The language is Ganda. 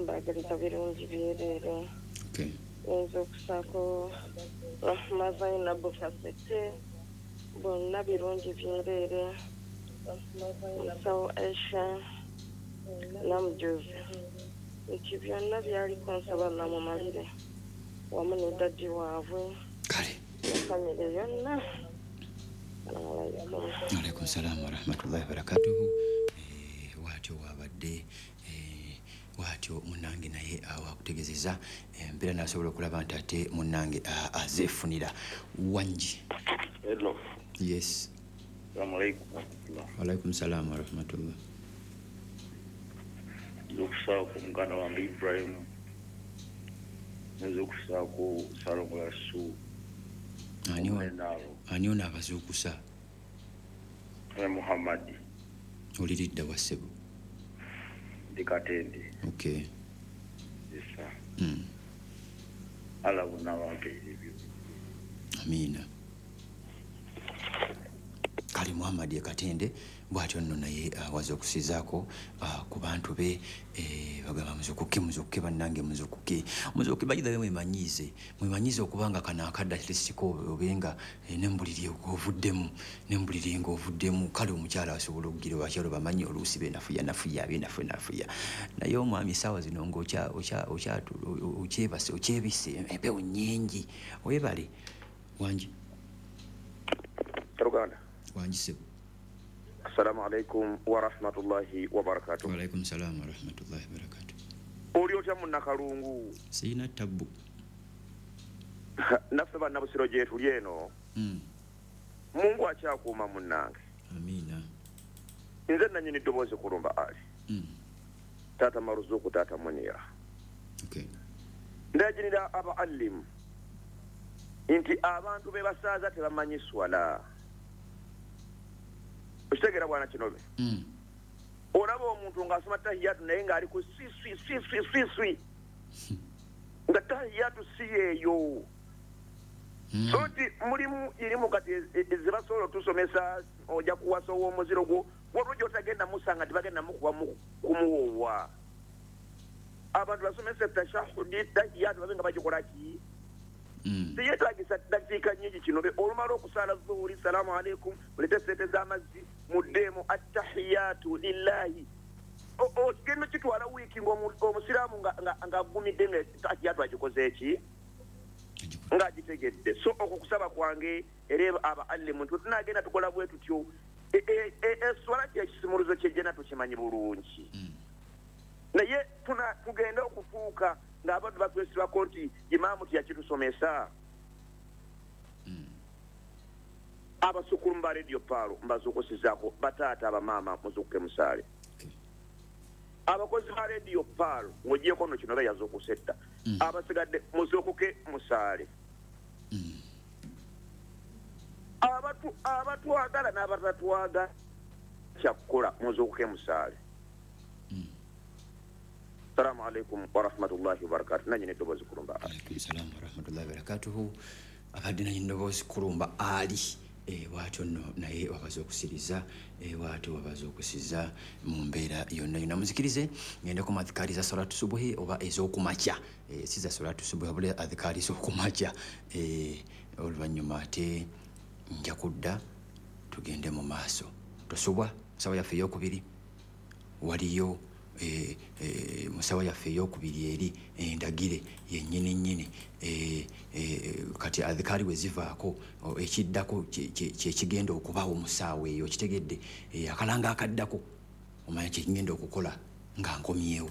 Mbaagaliza birungi byereere. Okay. Nzuukusaako Rahma Zainabu Kaseke, bonna birungi byereere. Musawo Aisha Namujuzi, nti byonna byaliko nsaba namumalire wamu ne daddi waabwe. Kale. Ne famire yonna. Assalamu alaikum. Alaikum salaam warahmatullahi wabarakatuhu. Bwatyo wabadde, bwatyo munnange naye awo akutegezeza embeera n'asobola okulaba nti ate munnange azeefunira wangi. Hello. Yes. Assalamu alaikum warahmatullah. Walaikum salaam warahmatullah. Nza okusaako muganda wange Ibrahim, nza okusaako Salongo Yasu. Ani Omunenaalo. Ani ono abazuukusa? Ne Muhammadi. Oliridda wa ssebo? Ndi Katende. Okay. Yes, sir. Allah bonna bampeere ebyo. Amiina. Kale Muhammad e Katende bw'atyo nno naye awaza okusizaako ku bantu be, bagamba muzukuke, muzukuke bannange, muzukuke, muzukuke. Bayithawe mwemanyiize, mwemanyiize okubanga kano akadde at least ko obenga, ne mbuliri ng'ovuddemu, ne mbuliri ng'ovuddemu. Kale omukyala asobola okugira, abakyala bamanyi oluusi benafuya nafuya, benafu nafuya, naye omwami essaawa zino ng'okyebase, okyebise, empewo nnyingi. Weebale wangi. Uganda. Wangi ssebo. Assalamu alaikum warahmatullahi wabarakatuh. Waalaikum salaam warahmatullahi wabarakatuh. Oli otya munnakalungu? Siina tabbu. Naffe bannabusiro gye tuli eno. Mungu akyakuuma munnange. Amiina. Nze nannyini ddoboozi kulumba Ali. Taata Maruzuku, taata Munira. Okay. Ndagirira aba alimu nti abantu be basaaza tebamanyi swala. Okitegeera bwana Kinobe? Olaba omuntu ng'asoma tahiyatu naye ng'ali ku swi swi swi swi swi swi, nga tahiyatu si yeeyo. So nti mulimu irimu kati zebasobola otusomesa, ojja kuwasa ow'omuziro gwo waliwo gy'otagenda musanga tibagenda mukuba kumuwoowa. Abantu basomesa tashahudi, tahiyatu babe nga bagikola ki? Teyetagisa dakiika nnyingi Kinobe. Olumala okusaala zuhuri, salaamu alaikum, mulete sente z'amazzi muddeemu attahiyatu lillahi. Ogenda kitwala wiiki ng'omusiraamu ng'agumidde nga tahiyatu agikoze eki, ng'agitegedde. So okwo kusaba kwange era aba alimu nti tunagenda tukola bwe tutyo. Eswala kyekisimuluzo kyejjena tukimanyi bulungi, naye tugenda okufuuka ng'abantu batwesibako nti imaamu tiyakitusomesa. Abasukulu ba Radio Pearl mbazuukusizaako, bataata abamaama muzuukuke musaale. Abakozi ba Radio Pearl ng'ogyeko nno kino bayazuukuse dda, abasigadde muzuukuke musaale. Abatwagala n'abatatwagala kyakkola muzuukuke musaale. Assalamu alaikum warahmatullahi wabarakatuh. Nannyini ddoboozi kulumba Ali. Alaikum salaam warahmatullahi wabarakatuhu. Abadde nannyini ddoboozi kulumba Ali. Bw'atyo nno naye wabaza okusiriza, bw'atyo wabaza okusiza mu mbeera yonna yonna. Muzikirize ngende ku adhikaari za salatu subuhi oba ez'okumakya, si za salatu subuhi wabula adhikaari z'okumakya. Oluvannyuma ate nja kudda tugende mu maaso. Tosubwa musawa yaffe ey'okubiri waliyo, musawa yaffe ey'okubiri eri endagire yennyini nnyini. Kati adhikaari we zivaako ekiddako kyekigenda okubaawo mu ssaawa eyo, okitegedde? Akalanga akaddako omanya kyekigenda okukola nga nkomyewo.